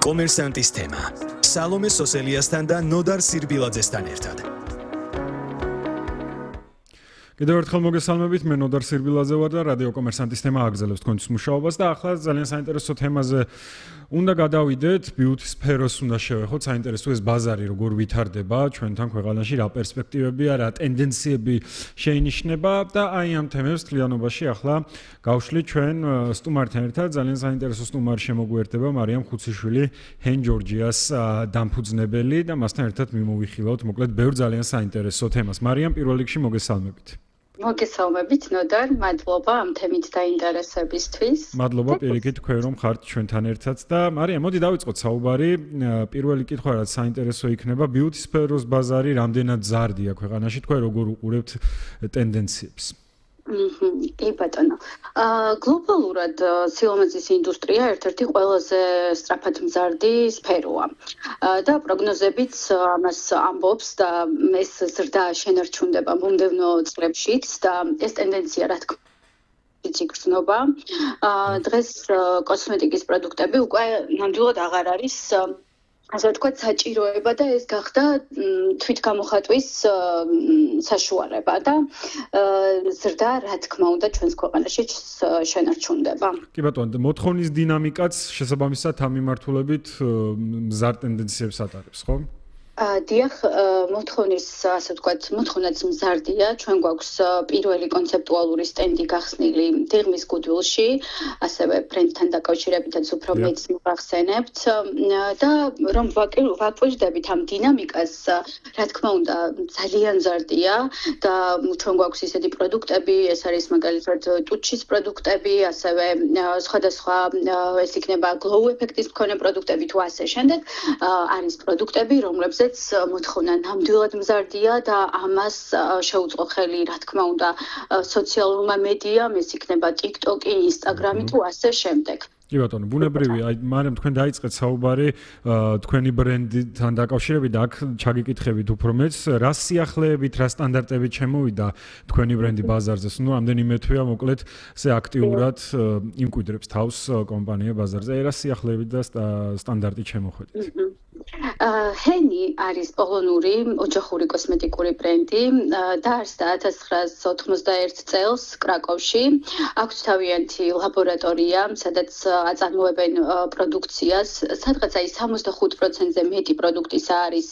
კომერსანტის თემა. სალომე სოსელიასთან და ნოდარ სირბილაძესთან ერთად. კიდევ ერთხელ მოგესალმებით, მე ნოდარ სირბილაძე ვარ და რადიო კომერსანტის თემა აგრძელებს თქვენთვის მუშაობას და ახლა ძალიან საინტერესო თემაზე უნდა გადავიდეთ, beauty სფეროს უნდა შევეხოთ, საინტერესო ეს ბაზარი როგორ ვითარდება ჩვენთან ქვეყანაში, რა პერსპექტივებია, რა ტენდენციები შეინიშნება და აი ამ თემებს თლიანობაში ახლა გავშლით ჩვენ სტუმართან ერთად, ძალიან საინტერესო სტუმარი შემოგვიერთდება, მარიამ ხუციშვილი, ჰენ ჯორჯიას დამფუძნებელი და მასთან ერთად მიმოვიხილავთ, მოკლედ ბევრ ძალიან საინტერესო თემას. მარიამ, პირველ რიგში მოგესალმებით. მოგესალმებით ნოდარ, მადლობა ამ თემით დაინტერესებისთვის. მადლობა პირიქით თქვენ რომ ხართ ჩვენთან ერთად და მარიამ, მოდი დავიწყოთ საუბარი. პირველი კითხვა რაც საინტერესო იქნება, beauty სფეროს ბაზარი რამდენად ზარდია ქვეყანაში, თქვენ როგორ უყურებთ ტენდენციებს? კი ბატონო. გლობალურად სილამაზის ინდუსტრია ერთ-ერთი ყველაზე სწრაფად მზარდი სფეროა. და პროგნოზებიც ამას ამბობს და ეს ზრდა შენარჩუნდება მომდევნო წლებშიც და ეს ტენდენცია რა თქმა უნდა გრძნობა. დღეს კოსმეტიკის პროდუქტები უკვე ნამდვილად აღარ არის ასე ვთქვათ, საჭიროება და ეს გახდა თვითგამოხატვის საშუალება და ზრდა, რა თქმა უნდა, ჩვენს ქვეყანაში შენარჩუნდება. კი ბატონო, მოთხოვნის დინამიკაც შესაბამისად ამ მიმართულებით მზარ ტენდენციებს ატარებს, ხო? დიახ, მოთხოვნის, ასე ვთქვათ, მოთხოვნაც მზარდია. ჩვენ გვაქვს პირველი კონცეპტუალური სტენდი გახსნილი დიღმის გუდვილში, ასევე ბრენდთან დაკავშირებითაც უფრო მეც მოგახსენებთ და რომ ვაკვირდებით ამ დინამიკას, რა თქმა უნდა, ძალიან მზარდია და ჩვენ გვაქვს ისეთი პროდუქტები, ეს არის მაგალითად ტუჩის პროდუქტები, ასევე სხვადასხვა ეს იქნება glow ეფექტის მქონე პროდუქტები თუ ასე შემდეგ, არის პროდუქტები, რომლებზეც მოთხოვნა ნამდვილად მზარდია და ამას შეუწყო ხელი, რა თქმა უნდა, სოციალურმა მედიამ, ეს იქნება TikTok-ი, Instagram-ი თუ ასე შემდეგ. კი ბატონო, ბუნებრივია, აი მაგრამ თქვენ დაიწყეთ საუბარი თქვენი ბრენდთან დაკავშირებით და აქ ჩაგიკითხებით უფრო მეც, რა სიახლეებით, რა სტანდარტებით შემოვიდა თქვენი ბრენდი ბაზარზე? ნუ რამდენიმე თვეა მოკლედ ესე აქტიურად იმკვიდრებს თავს კომპანია ბაზარზე. აი რა სიახლეებით და სტანდარტით შემოხვედით? ჰენი არის პოლონური ოჯახური კოსმეტიკური ბრენდი, დაარსდა 1991 წელს კრაკოვში. აქვს თავიანთი ლაბორატორია, სადაც აწარმოებენ პროდუქციას. სადღაც აი 65%-ზე მეტი პროდუქტისა არის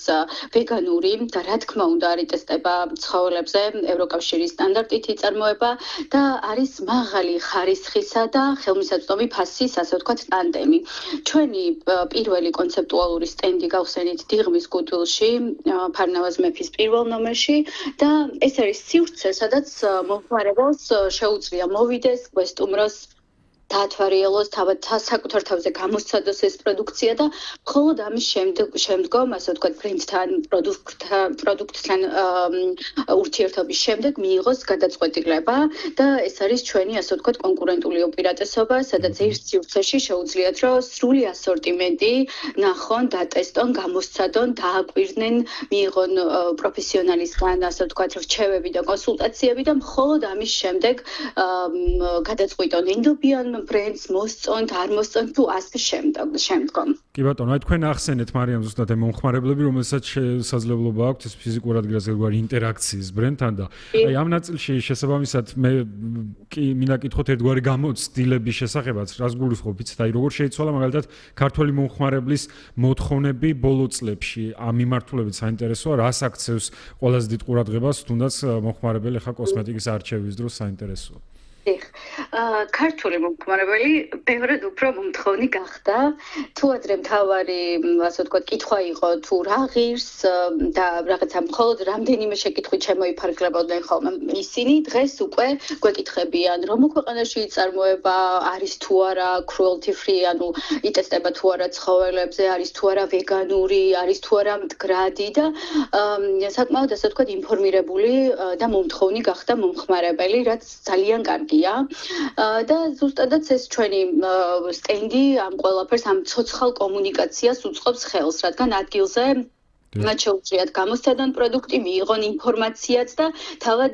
ვეგანური და რა თქმა უნდა არის ტესტება ცხოველებზე, ევროკავშირის სტანდარტით იწარმოება და არის მაღალი ხარისხისა და ხელმისაწვდომი ფასის, ასე ვთქვათ, ტანდემი. ჩვენი პირველი კონცეპტუალური სტენდი გავხსენით დიღმის გუდვილში, ფარნავაზ მეფის პირველ ნომერში და ეს არის სივრცე, სადაც მომხმარებელს შეუძლია მოვიდეს, გვესტუმროს, დაათვალიეროს, საკუთარ თავზე გამოსცადოს ეს პროდუქცია და მხოლოდ ამის შემდგომ, ასე ვთქვათ, ბრენდთან, პროდუქტთან ურთიერთობის შემდეგ მიიღოს გადაწყვეტილება და ეს არის ჩვენი, ასე ვთქვათ, კონკურენტული უპირატესობა, სადაც ერთ სივრცეში შეუძლიათ, რომ სრული ასორტიმენტი ნახონ, დატესტონ, გამოსცადონ, დააკვირდნენ, მიიღონ პროფესიონალისგან, ასე ვთქვათ, რჩევები და კონსულტაციები და მხოლოდ ამის შემდეგ გადაწყვიტონ ენდობიან ბრენდს მოსწონთ, არ მოსწონთ თუ ასე შემდგომ. კი ბატონო, აი თქვენ ახსენეთ მარიამ ზუსტად ამ მომხმარებლები, რომელსაც შესაძლებლობა აქვს ეს ფიზიკურად გასაგებარი ინტერაქციის ბრენდთან და აი ამ ნაწილში შესაბამისად მე კი მინდა კითხოთ ერთგვარი გამოცდილების შესახებაც, რას გულისხმობ, იცით, აი როგორ შეიცვალა მაგალითად ქართველი მომხმარებლის მოთხოვნები ბოლო წლებში, ამ მიმართულებით საინტერესოა, რას აქცევს ყველაზე დიდ ყურადღებას, თუნდაც მომხმარებელი ხა კოსმეტიკის არჩევის დროს საინტერესოა. ქართული მომხმარებელი ბევრად უფრო მომთხოვნი გახდა. თუ ადრე მთავარი, ასე ვთქვათ, კითხვა იყო თუ რა ღირს და რაღაცა მხოლოდ რამდენიმე შეკითხვით შემოიფარგლებოდნენ ხოლმე ისინი, დღეს უკვე გვეკითხებიან, რომ ქვეყანაში იწარმოება, არის თუ არა cruelty free, ანუ იტესტება თუ არა ცხოველებზე, არის თუ არა ვეგანური, არის თუ არა მდგრადი და საკმაოდ ასე ვთქვათ, ინფორმირებული და მომთხოვნი გახდა მომხმარებელი, რაც ძალიან კარგია. და ზუსტადაც ეს ჩვენი სტენდი ამ ყველაფერს, ამ ცოცხალ კომუნიკაციას უწყობს ხელს, რადგან ადგილზე მათ შეუძლიათ გამოსცადონ პროდუქტი, მიიღონ ინფორმაციაც და თავად,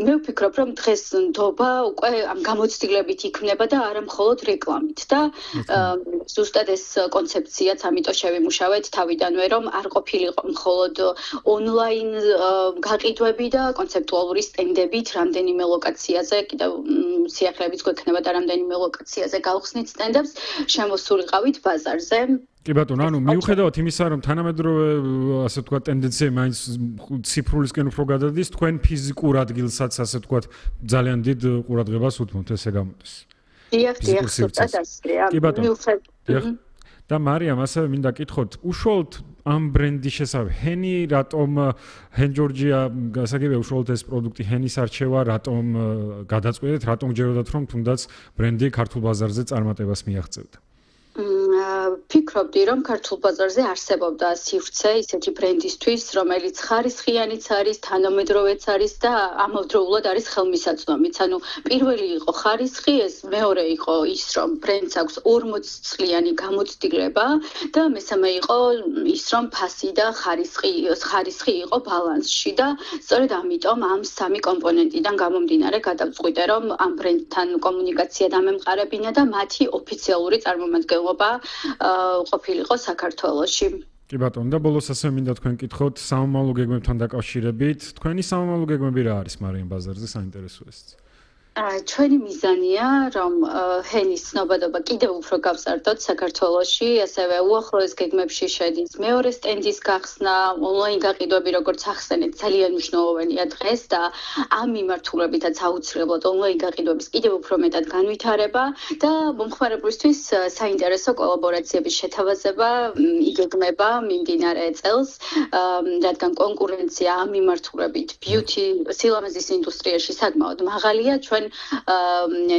მე ვფიქრობ, რომ დღეს ნდობა უკვე ამ გამოცდილებით იქნება და არა მხოლოდ რეკლამით და ზუსტად ეს კონცეფციაც ამიტომ შევიმუშავეთ თავიდანვე, რომ არ ყოფილიყო მხოლოდ ონლაინ გაყიდვები და კონცეპტუალური სტენდებით რამდენიმე ლოკაციაზე, კიდევ სიახლეებიც გვექნება და რამდენიმე ლოკაციაზე გავხსნით სტენდებს, შემოსულიყავით ბაზარზე. კი ბატონო, მიუხედავად იმისა, რომ თანამედროვე ასე ვთქვათ ტენდენცია მაინც ციფრულისკენ უფრო გადადის, თქვენ ფიზიკურ ადგილსაც ასე ვთქვათ ძალიან დიდ ყურადღებას უთმობთ, ესე გამოდის. დიახ, ზუსტად ასეა. კი ბატონო. და მარიამ, ასევე მინდა გითხოთ, უშუალოდ ამ ბრენდის შესახებ, ჰენი რატომ ჰენ ჯორჯია, გასაგებია უშუალოდ ეს პროდუქტი ჰენის არჩევა, რატომ გადაწყვეტეთ, რატომ გჯეროდათ რომ თუნდაც ბრენდი ქართულ ბაზარზე წარმატებას მიაღწევდა? ფიქრობდი, რომ ქართულ ბაზარზე არსებობდა სივრცე ისეთი ბრენდისთვის, რომელიც ხარისხიანიც არის, თანამედროვეც არის და ამავდროულად არის ხელმისაწვდომიც. ანუ პირველი იყო ხარისხი, ეს მეორე იყო ის, რომ ბრენდს აქვს 40 წლიანი გამოცდილება და მესამე იყო ის, რომ ფასი და ხარისხი იყო ბალანსში და სწორედ ამიტომ ამ სამი კომპონენტიდან გამომდინარე გადავწყვიტე, რომ ამ ბრენდთან კომუნიკაცია დამემყარებინა და მათი ოფიციალური წარმომადგენლობა ყოფილიყო საქართველოში. კი ბატონო, და ბოლოს ასე მინდა თქვენ კითხოთ სამომავლო გეგმებთან დაკავშირებით. თქვენი სამომავლო გეგმები რა არის მარიამ ბაზარზე საინტერესო ეს? ჩვენი მიზანია, რომ ჰენის ცნობადობა კიდევ უფრო გავზარდოთ საქართველოში, ასევე უახლოეს გეგმებში შედის მეორე სტენდის გახსნა, ონლაინ გაყიდვები, როგორც ახსენეთ, ძალიან მნიშვნელოვანია დღეს და ამ მიმართულებითაც აუცილებლად ონლაინ გაყიდვების კიდევ უფრო მეტად განვითარება და მომხმარებლისთვის საინტერესო კოლაბორაციების შეთავაზება იგეგმება მიმდინარე წელს, რადგან კონკურენცია ამ მიმართულებით ბიუთი სილამაზის ინდუსტრიაში საკმაოდ მაღალია, ჩვენ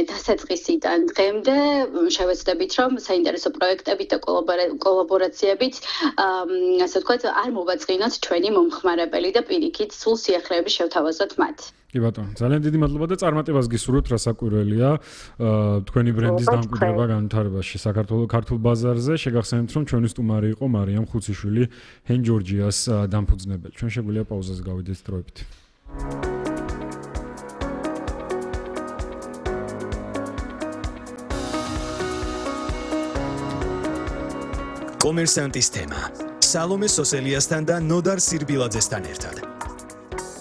დასაწყისიდან დღემდე შევეცდებით, რომ საინტერესო პროექტებით და კოლაბორაციებით, ასე ვთქვათ, არ მოვაწყინოთ ჩვენი მომხმარებელი და პირიქით სულ სიახლეები შევთავაზოთ მათ. კი ბატონო, ძალიან დიდი მადლობა და წარმატებას გისურვებთ, რასაკვირველია თქვენი ბრენდის დამკვიდრება განვითარებაში საქართველოს ქართულ ბაზარზე. შეგახსენებთ, რომ ჩვენი სტუმარი იყო მარიამ ხუციშვილი, ჰენ ჯორჯიას დამფუძნებელი. ჩვენ შეგვიძლია პაუზაზე გავიდეთ დროებით. კომერსანტის თემა. სალომე სოსელიასთან და ნოდარ სირბილაძესთან ერთად.